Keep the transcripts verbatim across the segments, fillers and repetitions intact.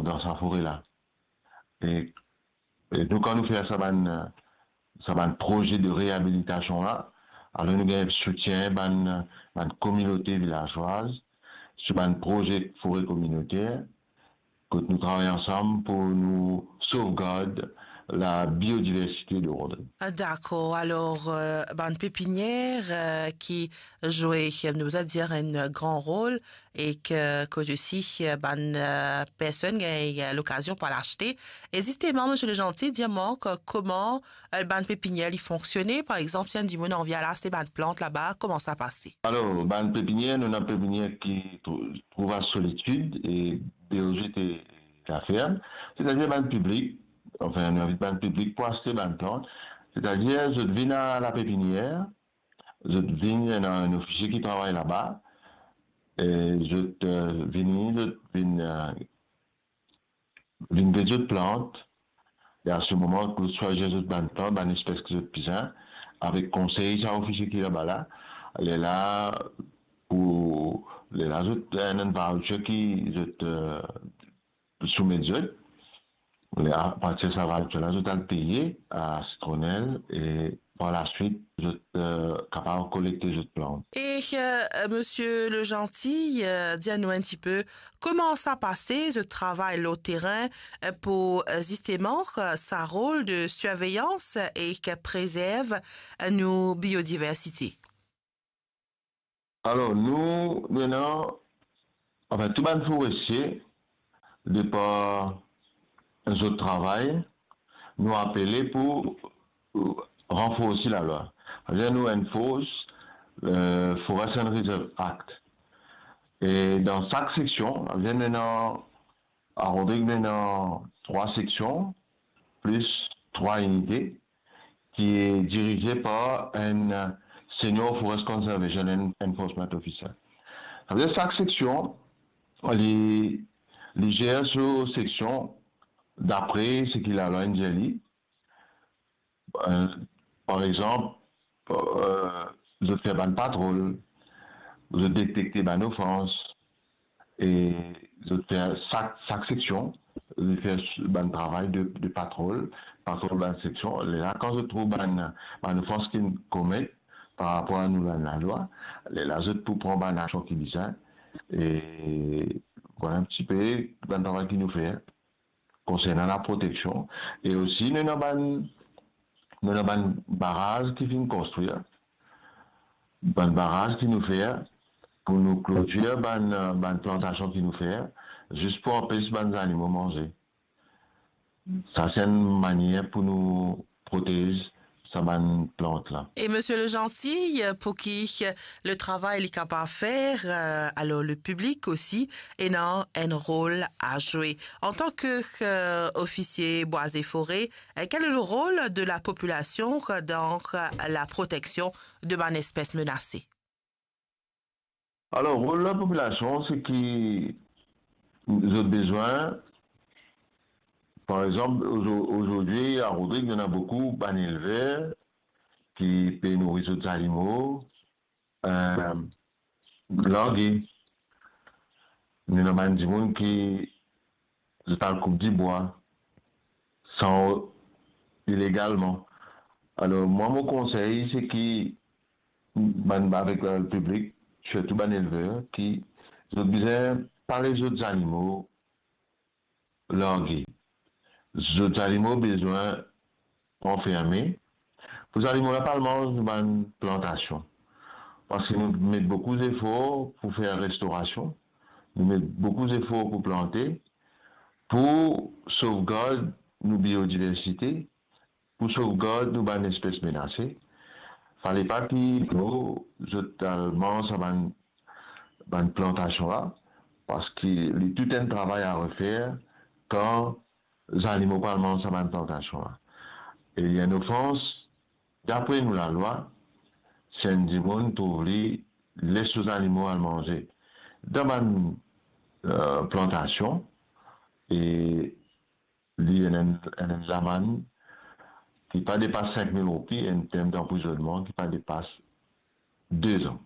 dan sa fore la. E, e nou, kan nou fer sa bann, sa bann proze de reabilitasion la, alor nou gagn soutien bann, bann kominote vilazwaz, sou bann proze fore kominoter, kot nou travay ansam pou nou sovgard labiodiversite de Rodrigue. Ah, dakor. Alor, euh, bann pepinier, euh, ki zwe, nou bizin dir, enn gran rol, e ki, kot osi, euh, bann, euh, personn gagn, euh, lokazion pou al aste. E zisteman, Misie Legentil, dir mwa, euh, kouma, euh, bann pepinier li fonksione? Par exanp, si enn dimoun anvi al aste bann plant laba, kouma sa pase? Alor, bann pepinier, nou ena pepinier ki trou-, trouv a Solitude e B O G T Laferme, setadir bann piblik, anfin, nou invit bann piblik pou aste bann plant, setadir zot vinn a lapepinier, zot vinn, ena enn ofisie ki travay laba, e zot, euh, vini, zot vinn, euh, vinn get zot plant, e a se moman, zot swazir zot bann plant, bann espes ki zot bizin, avek konsey sa ofisie ki laba la, lerla pou, lerla zot, enn, enn voucher ki zot, euh, soumet zot. Lerla, apartir sa voucher la, zot al peye a Citronelle e par laswit, zot, euh, kapav kolekte zot plant. E, euh, Misie Legentil, euh, dir nou enn tipe, kouma sa pase, zot travay lor terin, euh, pou, euh, zisteman, euh, sa rol de sirveyans e ki prezerv, euh, nou biodiversite? Alor, nou, nou ena, anfin, tou bann forestie, de par zot travay, nou apele pou, euh, ranforsi lalwa. Savedir nou enforce, euh, Forest and Reserve Act. E dan sak seksion, savedir nou ena A Rodrigue, nou ena trwa seksion, plis trwa inite, ki dirize par enn Senior Forest Conservation and Enforcement Officer. Savedir sak seksion, li, li zer so seksion dapre seki lalwa inn dir li. Euh, par exanp, euh, zot fer bann patrol, zot detekte bann ofans, e zot fer sak, sak seksion, zot fer bann travay de, de patrol, patrol bann seksion. Lerla, kan zot trouv bann, bann ofans ki komet par rapor a nou bann lalwa, lerla zot pou pran bann aksion ki bizin. E vwala enn tipe bann travay ki nou fer konsernan laproteksion. E osi, nou ena bann, nou ena bann baraz ki finn konstrir, bann baraz ki nou fer pou nou klotir bann, bann plantasion ki nou fer, zis pou anpes bann zanimo manze. Sa, se enn manier pou nou protez sa bann plant la. E Misie Legentil, pou ki le travay li kapav fer, euh, alor le piblik osi ena enn rol a zwe. Antan ki, euh, ofisie bwa e fore, euh, quel est le rôle de la population dans la protection de bann espes menase? Alor, rol lapopilasion, se ki zot bizin, par exanp, ozo-, ozordi, a Rodrigue, nou ena boukou bann elver ki pe nouri zot zanimo, euh, large. Nou ena bann dimoun ki zot al koup dibwa san, ilegalman. Alor, mwa, mo konsey, se ki bann, avek, euh, piblik, sirtou bann elver, ki zot bizin pa les zot zanimo large. Zot zanimo bizin anferme, pou zanimo la pa al manz nou bann plantasion. Parski nou met boukou zefor pou fer restorasion, nou met boukou zefor pou plante, pou sovgard nou biodiversite, pou sovgard nou bann espes menase. Fale pa ki nou, zot al manz sa bann, bann plantasion la, parski li tou enn travay a refer kan zanimo pa al manz sa bann plantasion la. E li enn ofans, dapre nou lalwa, si enn dimoun trouv li les so zanimo al manze dan bann, euh, plantasion, e li ena enn, enn, enn lamann ki pa depas sink mil roupi, enn term danprizonnman ki pa depas de zan.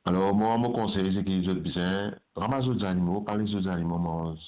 Alor, mwa, mo konsey, se ki zot bizin ramas zot zanimo, pa les zot zanimo manz